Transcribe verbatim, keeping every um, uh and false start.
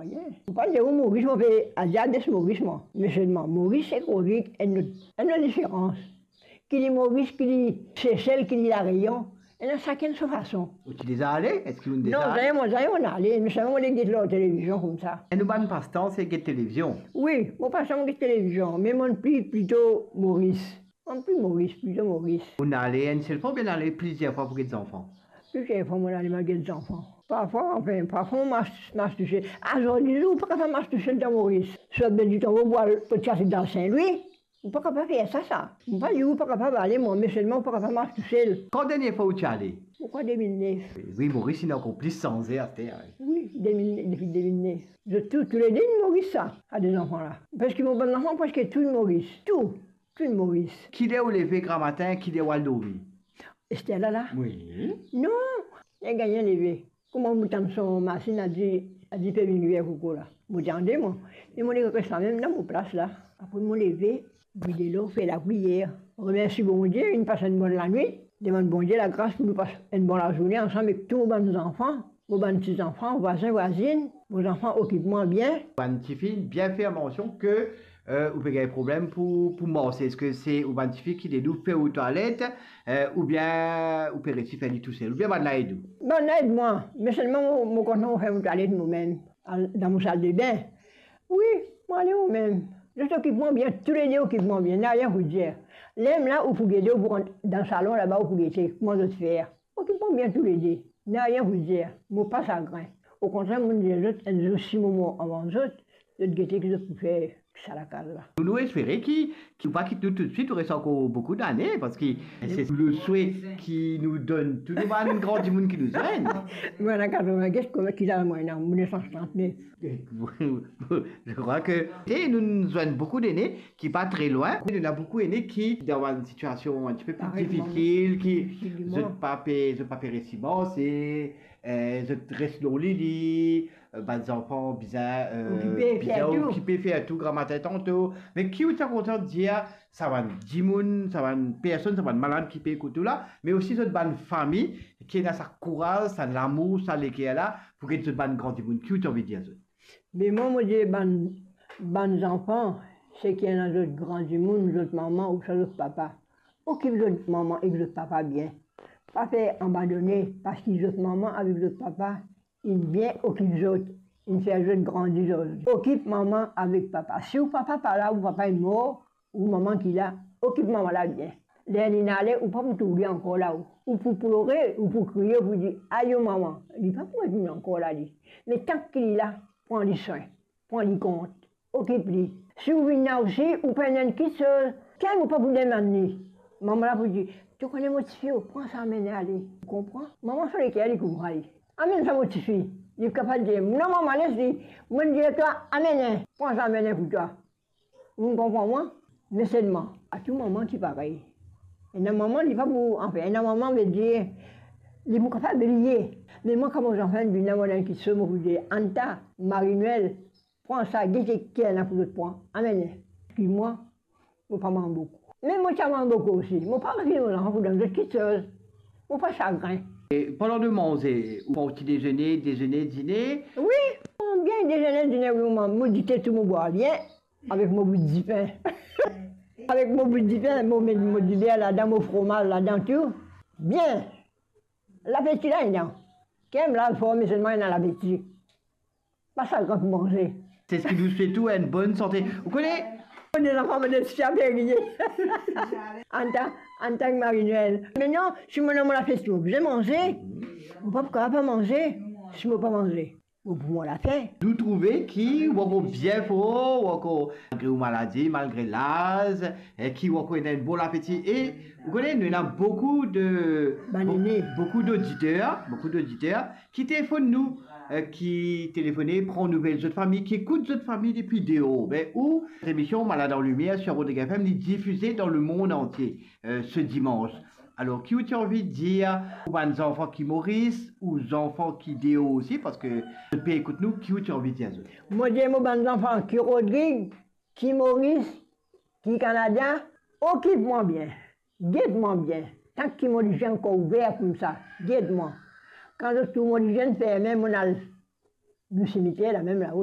Mo pa dir ou Moris, mo pe adir ades Moris, mwa. Me selman, Moris ek Rodrig, enn lot, enn lot diferans. Ki li Moris, ki li Sesel, ki li Lareyon, ena sakenn so fason. Ou ti deza ale? Eski ou deza... Non, zame, mo zame ale, me selman mo le get lor televizion koumsa. E nou bann pastan, se get televizion? Wi, mo pastan mo get televizion, me mo pli, plito Moris. Mo pli Moris, plito Moris. Ou ale enn sel fwa oubien ale plizier fwa pou get zanfan? Plizier fwa mo ale, mo get zanfan. Parfwa, anfin, parfwa mo mars, mars tousel. Azordi zour, ou pa kapav mars tousel dan Moris. Sot Bel Ditonbo pou al, pou ti al dan Sin Lwi. Ou pa kapav fer sa, sa. Mo pa dir ou pa kapav ale, mwa, me selman ou pa kapav mars tousel. Kan dernie fwa ou ti ale? Mo krwar de mil nef. Wi, Moris inn ankor plis sanze aster, wi. Wi, de mil nef, depi de mil nef. Zot tou, toulede inn Moris sa, sa de zanfan la. Parski mo bann zanfan preske tou inn Moris. Tou, tou inn Moris. Kiler ou leve gramatin, kiler ou al dormi? Ester la la? Wi. Non, li gagn leve. Kouma mo tann son masinn, li dir, li dir pe vinn vey koko la. Mo dir, ande mwa. E mo res lamem dan mo plas la. Apre mo leve, bwi delo, fer lapriyer. Remersi Bondie, inn pas enn bonn lanwit. Demann Bondie lagras pou nou pas enn bon lazourne ansam ek tou mo bann zanfan, mo bann ti zanfan, vwazin, vwazinn. Mo zanfan okip mwa bien. Bann tifi, bien fer mansion ke, eh, ou pe gagn problem pou, pou marse. Eski se ou bann tifi ki ed ou fer ou twalet, eh, oubien ou pe resi fer li tousel, oubien bann la ed ou? Bann la ed mwa, me selman mo, mo kontan mo fer mo twalet momem, al dan mo saldebin. Wi, mo ale momem. Zot okip mwa bien, toulede okip mwa bien, nanye pou dir. Lerla ou pou gete, ou pou rant dan salon laba, ou pou gete kouma zot fer. Okip mwa bien toulede, nanye pou dir, mo pa sagrin. Okontrer, mo dir zot, enn zour si mo mor avan zot, zot gete ki zot pou fer sa lakaz la. Nou, nou espere ki, ki ou pa kit nou toutswit, ou res ankor boukou dane, parski se le swe ki nou donn tou nou bann gran dimoun ki nou zwenn. Mwa, ena katrevin-sis, kouma ki laz mwa ena, mo ne san trant-nef. Je crois que, e nou, nou zwenn boukou dene ki pa tre lwin. Ena boukou ene ki dan enn sitiasion enn tipe pli difisil, ki zot pa pe, zot pa pe resi marse, eh, zot res lor lili, eh, bann zanfan bizin, eh, bizin okipe, fer tou, gramatin tanto. Me ki ou ti a kontan dir sa bann dimoun, sa bann personn, sa bann malad ki pe ekout ou la, me osi zot bann fami, ki ena sa kouraz, sa lamour, sa leker la, pou get zot bann gran dimoun? Ki ou ti anvi dir zot? Me mwa, mo dir bann, bann zanfan, seki ena zot gran dimoun, zot mama ouswa zot papa, okip zot mama ek zot papa bien. Pa fer abandone, parski zot mama avek zot papa inn bien okip zot, inn fer zot grandi zot. Okip mama avek papa. Si ou papa pa la, ou papa inn mor, ou mama ki la, okip mama la bien. Ler linn ale, ou pa pou trouv li ankor la, ou, ou pou plore, ou pou kriye, ou pou dir, "Ayo mama, li pa pou retourn ankor la li." Me tank ki li la, pran li swin, pran li kont, okip li. Si ou vinn la osi, ou pena enn kitsoz, kinn ou pa pou demann li. Mama la pou dir, "To kone mo tifi, pran sa, amenn ale." Ou konpran? Mama so leker li konpran li. "Amenn sa mo tifi." Li kapav dir, "Non mama, les li." Mo dir twa, "Amenn, pran sa, amenn pou twa." Ou konpran mwa? Me selman, a tou mama ki parey. Ena mama, li pa pou, anfin, ena mama, vedir, li pou kapav bliye. Me mwa, kan mo zanfan vinn la, mo ena enn kitsoz, mo pou dir, Anta, Marie-Noël, pran sa, gete ki ena pou zot pran. Amenn. Ki mwa, mo pa manz boukou. Me mo ti a manz boukou osi. Mo pa refiz mo zanfan pou donn zot kitsoz. Mo pa sagrin. E parlan de manze, ou pran ti dezene, dezene, dine? Wi, bien dezene, dine, wi, mo, mo dite tou, mo bwar bien. Avek mo bout dipin. Avek mo bout dipin, mo met mo diber ladan, mo fromaz ladan tou. Bien. Lapeti la ena. Ker mo la form, me selman ena lapeti. Pa sagrin pou manze. Se seki nou swet ou enn bonn sante. Ou kone, mo zanfan, mo de swa pe riye. Anta, Anta ek Marie-Noël. Me non, si mo ena mo lapeti, mo bizin manze. Mo pa pou kapav pa manze si mo pa manze. Bon, pou mwa, lafin. Nou trouve ki ou ankor bien for, ou ankor, malgre ou maladi, malgre laz, e ki ou ankor ena enn bon lapeti. E ou kone, nou ena boukou de, bann bo-, ene, boukou doditer, boukou doditer ki telefonn nou, e ki telefone, pran nouvel zot fami, ki ekout zot fami depi deor. Be ou, lemision Malad an Limier sur Rodrigue F M, li difize dan lemond antie, e, se dimans. Alor, ki ou ti anvi dir pou bann zanfan ki Moris, ou zanfan ki deor osi, parski zot pe ekout nou, ki ou ti anvi dir zot? Mo dir mo bann zanfan ki Rodrig, ki Moris, ki Kanada, okip mwa bien, get mwa bien. Tank ki mo liziem ankor ouver koumsa, get mwa. Kan zot trouv mo liziem ferme, mo al nou simiter lamem lao.